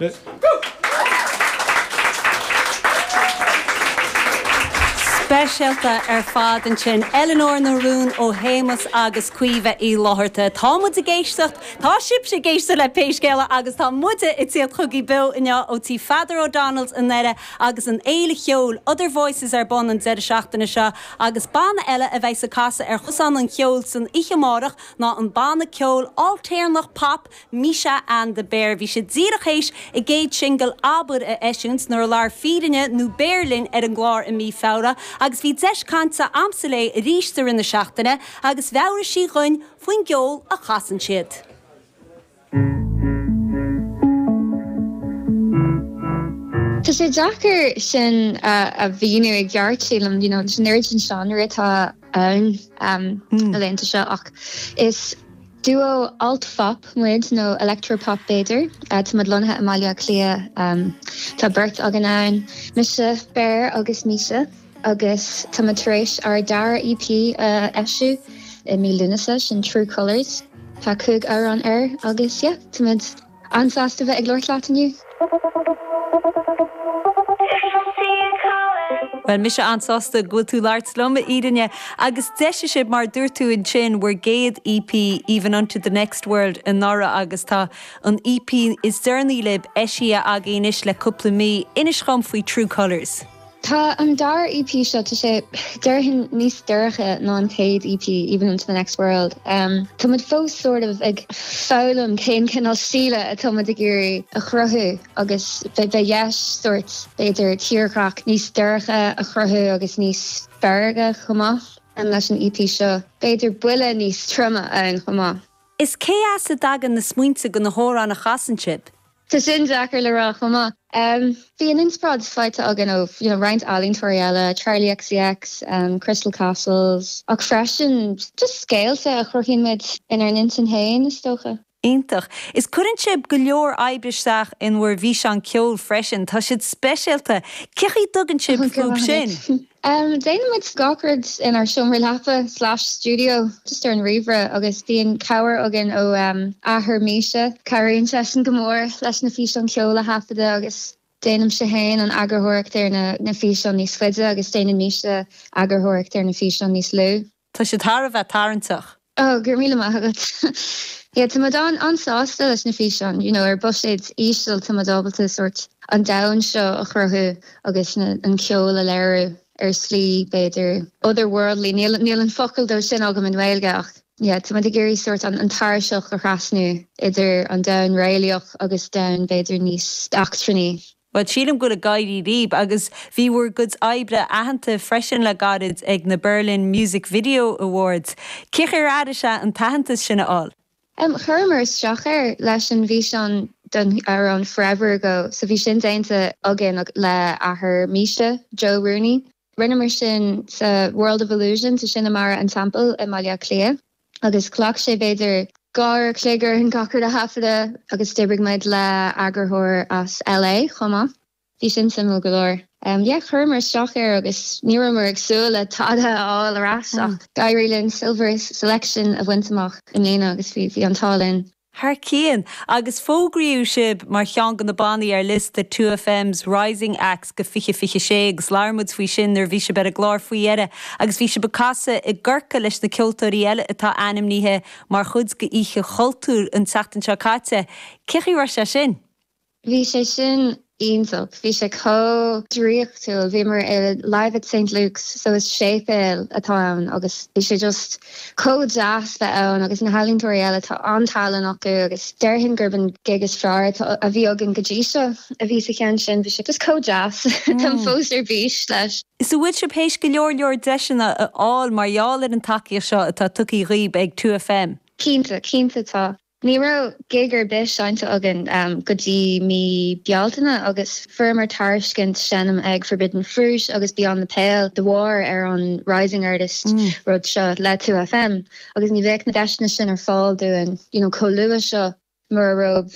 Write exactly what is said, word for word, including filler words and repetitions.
Let's go! Speisialta ar fad ansin Eleanor nó Rún ó Shéamus agus Caoimhe Uí Fhlatharta. Tá muid ag éisteacht, Tá sibhse ag éisteacht le Pé Scéal É agus tá muide ag tíocht chugaibh beo inniu ó tí Pheadar O'Donnell's i nDoire agus an fhéile cheoil Other Voices ar bun an deireadh seachtaine seo agus banna eile a bheidh ag casadh ar chosán an cheoil san oíche amárach ná an banna ceoil ailtéarnach pop Misha and the Bear. Bhí siad díreach théis a gcéad singil Abair a eisiúint nuair a labhair Fírinne nó Bear linn ar an gclár i mí Feabhra agus bhí deis cainte agamsa léi arís i rith na seachtaine agus mheabhraigh sí dhúinn faoin gceol a chasann siad. Tá sé deacair sin a mhíniú i gceart sílim, you know, leis an oiread sin seánra atá ann um, na laethanta seo ach is duo alt-phop muid nó electropop b'fhéidir. Tá muid lonnaithe i mBaile Átha Cliath. Um, tá beirt againn ann, mise Bear agus Misha agus tá muid tar éis ár dara EP a eisiú i mí Lúnasa sin True Colours. Tá cúig amhrán air agus yeah, tá muid an-sásta bheith ag labhairt leat inniu. Bhuel, mise an-sásta go bhfuil tú ag labhairt liom, a Fhírinne, agus d'eisigh sibh, mar a dúirt tú ansin, bhur gcéad EP, Even Unto the Next World, anuraidh agus tá an EP is deireanaí libh eisithe agaibh anois le cúpla mí. Inis dhom faoi True Colours. Tá an dara EP seo, tá sé, déarfainn, níos dorcha ná an chéad EP, Even Unto the Next World. Tá muid fós sort of ag foghlaim cén cineál stíle atá muid ag iarraidh a chruthú agus beidh deis sort b'fhéidir tírdhreach níos dorcha a chruthú agus níos fearga chomh maith leis an EP seo. B'fhéidir buille níos troime ann chomh maith. Is cé as a dtagann na smaointe do na hamhráin a chasann sibh? Tá sin deacair le rá chomh maith. Bíonn inspioráid faighte againn ó you know roinnt ealaíontóirí eile, Charli XCX, Crystal Castles, ach freisin just scéalta a chruthaíonn muid inár n-intinn féin, is dócha. Iontach. Is cuireann sibh go leor oibre isteach in bhur bhfíseáin ceoil freisin. Tá siad speisialta. Cé chaoi a dtugann sibh fúthu sin? Déanann muid gach rud inár seomra leapa slash stiúideo, just ar an ríomhaire agus bíonn cabhair againn ó athair Misha. Cabhraíonn seisean go mór leis na físeáin ceoil a thaifeadadh agus déanaimse féin an eagarthóireacht ar na físeáin níos faide agus déanann Misha eagarthóireacht ar na físeáin níos lú. Tá siad thar a bheith tarraingteach. Oh, go raibh míle maith agat. Yeah, tá muid an-sásta leis na físeáin, you know, ar buiséad íseal tá muid ábalta sort an domhan seo a chruthú agus na, an ceol a léiriú ar slí b'fhéidir otherworldly, níl, níl an focal dó sin agam i nGaeilge ach yeah, tá muid ag iarraidh sort an, an tairseach a thrasnú idir an domhan réalaíoch agus domhan b'fhéidir níos eachtrannaí. Bhuel, sílim go bhfuil ag éirí libh agus bhí bhur gcuid oibre aitheanta freisin le gairid ag na Berlin Music Video Awards. Cé chaoi ar airigh sé an t-aitheantas sin a fháil? Em, chuireamar isteach air leis an bhfíseán don amhrán Forever Ago, so bhí sin déanta againn le athair Misha, Joe Rooney. Rinneamar sin sa World of Illusion, tá sin i mBarra an Teampaill i mBaile Átha Cliath agus ghlac sé b'fhéidir dhá uair a chloig orainn gach rud a thaifeadadh agus d'oibrigh muid le eagarthóir as LA chomh maith. Bhí sin suimiúil go leor. Yeah, chuireamar isteach air agus ní rabhamar ag súil le tada a fháil ar ais ach d'éirigh linn Silver Selection a bhaint amach i mbliana agus bhí bhí an t-ádh linn. Thar cionn! Agus fógraíodh sibh mar cheann de na bannaí ar liosta Two FM's Rising Acts go fiche fiche sé agus labhair muid faoi sin nuair a bhí sibh ar an gclár faoi dheireadh agus bhí sibh ag casadh i gCorcaigh leis na ceoltóirí eile atá ainmnithe mar chuid de Oíche Chultúir an tseachtain seo caite. Cé chaoi raibh sé sin? Bhí sé sin iontach. Bhí sé chomh draíochtúil. Bhíomar i Live at Saint Luke's so is séipéal atá ann agus bhí sé just chomh deas bheith ann agus na healaíontóirí eile tá an-tallann acu agus déarfainn gurb an gig is fearr atá a bhí againn go dtí seo a bhí sa cheann sin. Bhí sé just chomh deas. Táim fós ar bís leis. Is an bhfuil sibh théis go leor leor deiseanna a fháil mar gheall ar an tacaíocht seo atá tugtha dhaoibh ag Two FM? Cinnte, cinnte tá. Ní raibh gig ar bith seinnte againn go dtí mí Bealtaine agus fuaireamar tairiscint seinm ag Forbidden Fruit agus Beyond the Pale de bharr ar an Rising Artist rud seo le Two FM agus ní bheadh na deiseanna sin ar fáil dúinn you know chomh luath seo mura raibh